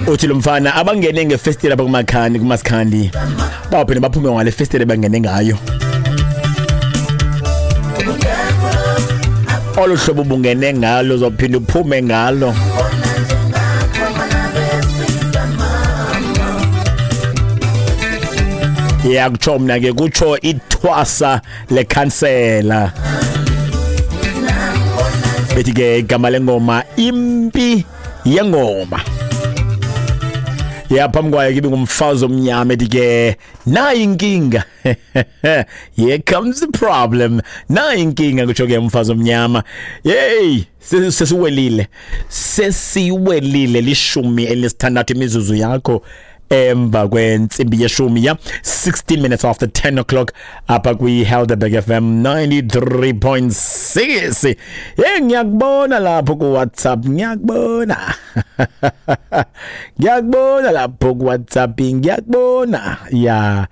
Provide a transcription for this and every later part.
Uthi lo mfana abangene ngefestile apha kumakhandi kuMasikhandi, bawuphinde baphume ngale festile bangene ngayo. Olu hlobo bungene ngalo uzawuphinda uphume ngalo. Ya, kutsho mna ke, kutsho ithwasa lekhansela. Bethi ke igama lengoma Impi Yengoma. Ya, phambi kwayo kibe ngumfazi omnyama ethi ke nayi inkinga. Here comes the problem. Nayi inkinga, kutsho ke umfazi omnyama. Hey, sesiwelile. Sesiwelile 16 imizuzu yakho emva kwentsimbi yeshumi, ya, 16 minutes after 10 o'clock apha kwi-Helderberg FM 93.6. Hey, ngiyakubona lapho ku-WhatsApp, ngiyakubona, ngiyakubona lapho ku-WhatsApp, ngiyakubona. Ya,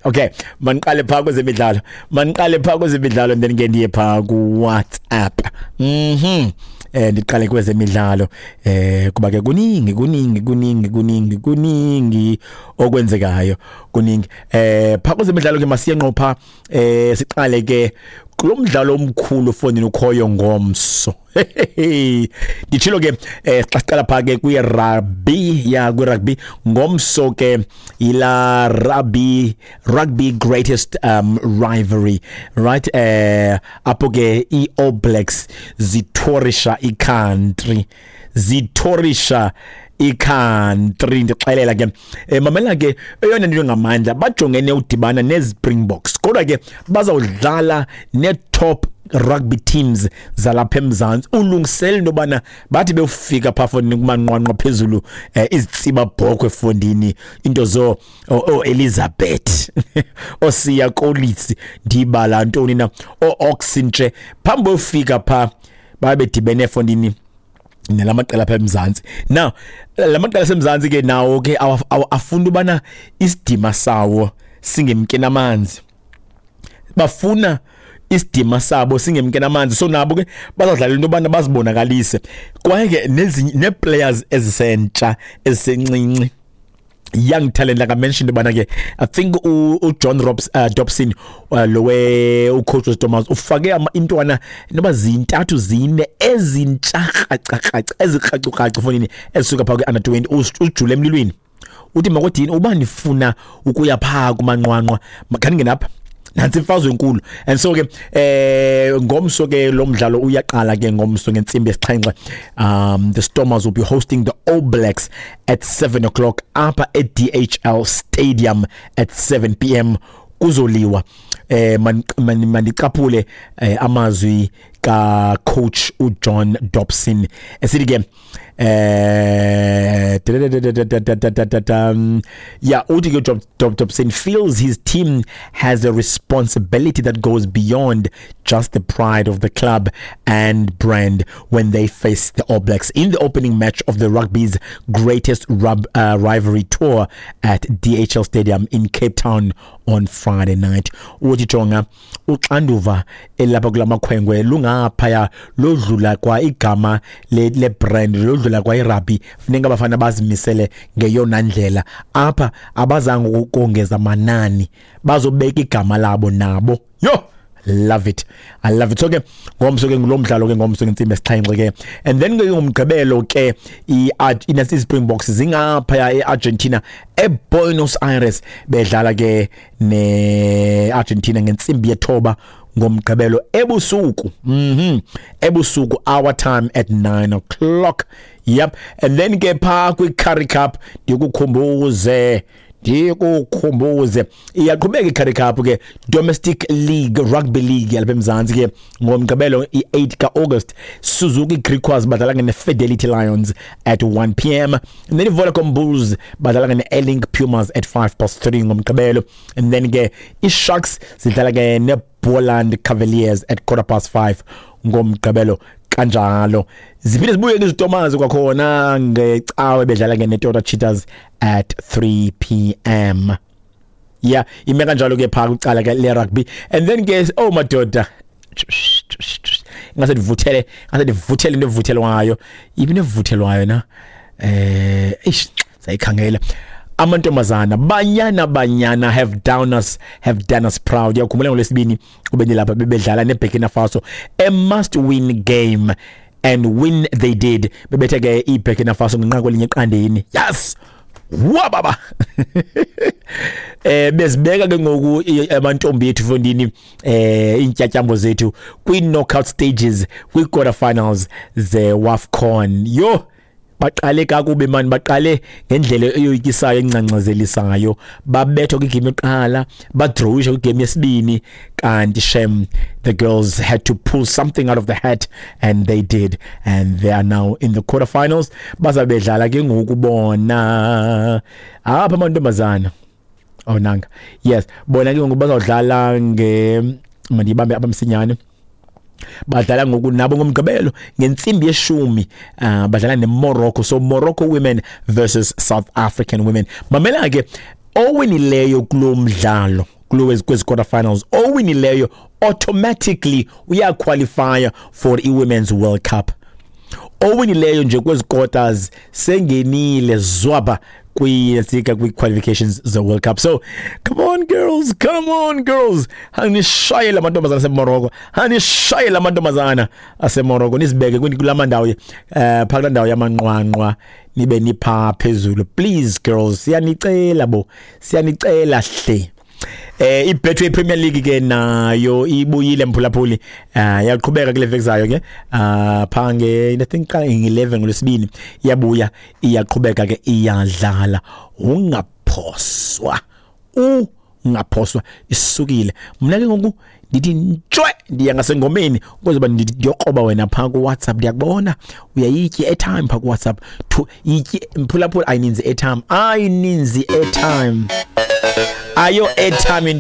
okay, maniqale phaa kwezemidlalo, maniqale phaa kwezemidlalo, then ke ndiye phaa ku-WhatsApp. Ndiqale kwezemidlalo kuba ke kuningi, kuningi, kuningi, kuningi, kuningi okwenzekayo, kuningi phaa kwezemidlalo ke. Masiye ngqo phaa, siqale ke kulo mdlalo omkhulu fondini ukhoyo ngomso. Nditshilo ke xa siqala phaa ke kwi-rugby, ya, kwi-rugby ngomso ke ila rugby greatest rivalry, right, apho ke i-All Blacks zitourisha i-country, zitourisha i-country. Ndixelela ke, mamela ke, eyona nto ngamandla bajongene udibana neZpringboks, kodwa ke bazawudlala ne-top rugby teams zalapha eMzantsi. Ulungisele into yobana bathi bewufika phaa fondini kumanqwanqwa phezulu, izitsiba bhokhwe fondini, into zo o-Elizabeth, oSiya Kolisi, ndibala ntoni na, o-Ox Nche, phambi beyofika phaa babe bedibene fondini nalamaqela apha eMzantsi. Now la maqela asemzantsi ke nawo ke afuna ubana isidima sawo singemke namanzi, bafuna isidima sabo singemke namanzi, so nabo ke bazadlala into yobana bazibonakalise. Kwaye ke nezinye nee-players ezisentsha, ezisencinci, young talent, like I mentioned ubana ke I think uJohn Dobson, lowe ucoach weStormers, ufake intwana noba zintathu, zine ezintsha kraca ezikracu fonini ezisuka phaa kwi-under 20. Ujule emlilweni, uthi makodini uba nifuna ukuya phaa kumanqwanqwa, khaningene apha, nantsi imfazwe enkulu. And so ke ngomso ke lo mdlalo uyaqala ke ngomso ngentsimbi yesixhenxe. The Stormers will be hosting the All Blacks at 7 o'clock apha e-DHL Stadium at 7 p.m. Kuzoliwa. Mandicaphule amazwi ka coach uJohn Dobson esithi ke yeah, uthi ke Dobson feels his team has a responsibility that goes beyond just the pride of the club and brand when they face the All Blacks in the opening match of the rugby's greatest rivalry tour at DHL Stadium in Cape Town on Friday night. Uthi jonga, uxanduva elapha kula makhwenkwe lungaphaya, lodlula kwa igama le brand, lodlula kwa irugby. Funeka abafana bazimisele ngeyona ndlela. Apha abazange ukongeza manani, bazobeka igama labo nabo. Yo, love it, I love it. So ke ngomso ke ngulo mdlalo ke ngomso ngentsimbi yesixhenxe ke. And then ke ngomgqibelo ke i-Springboks zingaphaya e-Argentina, eBuenos Aires, bedlala ke ne-Argentina ngentsimbi yethoba ngomgqibelo ebusuku, ebusuku our time at 9 o'clock. Yep. And then ke phaa kwi-Currie Cup, ndikukhumbuze, ndikukhumbuze, iyaqhubeka i-Currie Cup ke, Domestic League Rugby League yalapha eMzantsi ke. Ngomgqibelo i-8 ka-August, Suzuki Griquas badlala ne-Fidelity Lions at 1 p.m., and then i-Vodacom Bulls badlala ne-Airlink Pumas at 5 past 3 ngomgqibelo. And then ke i-Sharks zidlala ke ne-Boland Cavaliers at quarter past 5 ngomgqibelo kanjalo. Ziphinde zibuye ke iziTomaz kwakhona ngecawe, bedlala ke ne-Toyota Cheetahs at 3 p.m. Yeah, ime kanjalo ke phaa kwicala ke le rugby. And then ke, oh madoda, Ingase ndivuthele, ingase ndivuthele into evuthelwayo. Ibi nevuthelwayo na? Eish, sayikhangela. Amantombazana, Banyana Banyana have done us proud. Uyakhumbula ngolwesibini ube lapha, bebedlala neBurkina Faso, a must win game, and win they did. Bebethe ke iBurkina Faso ngenqaku elinye eqandeni. Yes, wababa bezibeka ke ngoku amantombi ethu, mfondini, intyatyambo zethu kwi knockout stages, kwi quarter finals ze WAFCON. Yo, baqale kakubi mani, baqale ngendlela eyoyikisayo, engcangcazelisayo. Babethwa kwigame yokuqala, badrawisha kwigame yesibini, kanti shem, the girls had to pull something out of the hat, and they did, and they are now in the quarterfinals. Bazabe bedlala ke ngoku bona apha amantombazana. Oh, nanga. Yes, bona ke ngoku bazawudlala nge, mandibambe abamsinyane, badlala ngoku nabo ngomgqibelo ngentsimbi yeshumi, badlala neMorocco. So Morocco women versus South African women. Mamela ke, owinileyo kulo mdlalo, kulo kwezi quarter finals, owinileyo automatically uyaqualify for i-Women's World Cup. Owinileyo nje kwezi quarters sengenile zwaba kwi-sika kwi-qualifications ze-World Cup. So come on girls, come on girls, anishayele amantombazana aseMorocco, anishayele amantombazana aseMorocco, nizibeke kulama ndawo, phaka kulaa ndawo yamanqwanqwa, nibe nipha phezulu. Please girls, siyanicela bo, siyanicela hle. IBetway Premier League ke nayo ibuyile, mphulaphuli, yaqhubeka kule veki zayo ke, pha nge, I think nge-11 ngolwesibini iyabuya, iyaqhubeka ke, iyadlala. Ungaphoswa, ungaphoswa, isukile. Mna ke ngoku ndithi ntshwe, ndiya ngasengomeni ukuze uba ndiyokroba wena phaa kuWhatsApp. Ndiyakubona uyayitya i-airtime phaa kuWhatsApp. Yityi mphulaphula, ayininzi airtime, ayininzi airtime, ayo airtime.